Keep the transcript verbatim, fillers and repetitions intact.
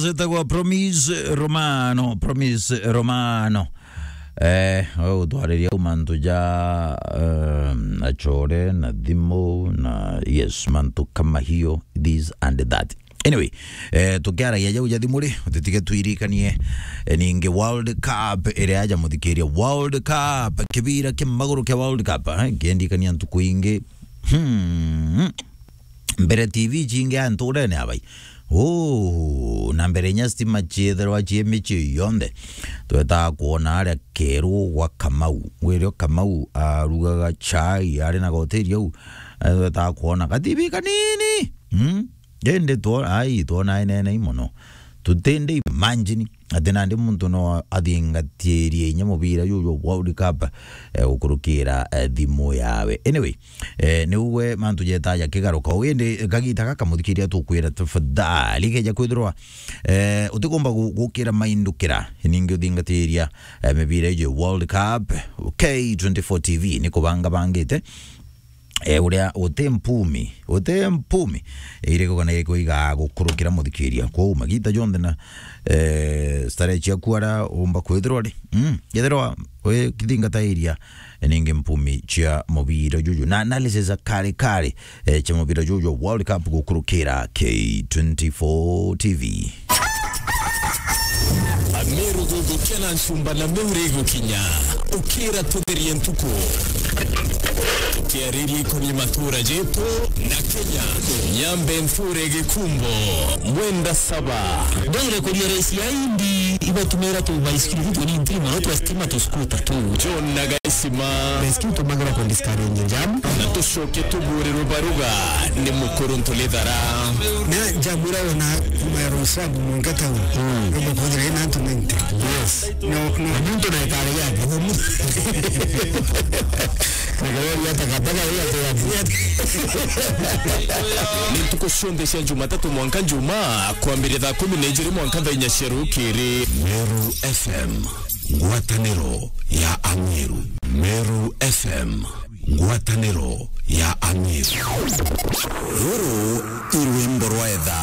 Zitagwa Promise Romano, Promise Romano. Eh, we utwariria u mantu ja, eh, na chore, na thimu, na, yes, mantu kama hiyo, this and that. Anyway, eh, tukiaragia jau ja thimu ri, utitige twirikanie, eh, ningi World Cup iria aja muthikiria. World Cup, kibira kia maguru kia World Cup, eh, kiendikania ntuku ingi. Hmm. Mbere T V ciingi a nturene abai. Uu, na mbere inya stima ciethirwa cie micii yonthe. Twetaga kwona aria Keru gwa Kamau. Wirio Kamau arugaga chai, ari na goteri au. Eh, twetaga kwona ga T V kanini. Hmm? Indi two-, ai, twona inene mono. Tutindi imagine ati nandi muntu no athingatirie inya mubira juju jwa World Cup, eh, gukurukira, eh, thimu yawe. Anyway, eh, niuwe mantu jeta jakigaruka. Uu indi kagita gaka muthikiria tukwira tafadhali keja kwithirwa, eh, utikumba gu-, gukira maindukira, ningi uthingatiria, eh, mibira iji World Cup, K twenty-four T V ni kubanga bangite. Eh, uria uti mpumi, uti mpumi iriku kana iriku igagukurukira muthikiria. Kwou magita jonthe na, eh, starehe ciaku ara umba kwithirwa ri. Mm, ethirwa wi kithingata iria, eh, ningi mpumi cia mubira juju. Na analysis a kare kare, eh, cia mubira juju World Cup gukurukira K twenty-four T V. Ameru gugukia na ncumba na miuri igukinya. Ukira tutherie ntuku. Tukiariria ikoni matura jetu na Kenya. Nyambe nthure gikumbo. Mwenda saba. Ndwire kuria raisi ya indi ibatumira tu baisikiri tu ni ntiri mono twa stima tu scooter tu. John na Gaisima. Baisikiri tumagira ku discourage jam. Na tucoke tuburirwe baruga ni mukuru ntulithara. Na jamura ona kuma ya Roysambu mwanka town. Mm. Robo kuthira ina antu ninety. Yes. No, no. Na muntu na ikare yake. Nikaweria takataka hiyo tu. Ni ntuku cionthe cia Jumatatu mwanka Njumaa, kwambiria thaa kumi na ijiri mwanka thaa inya cia rukiri. Meru F M, ngwataniro ya Ameru. Meru F M, ngwataniro ya Ameru. Ruru i rwimbo rwa etha.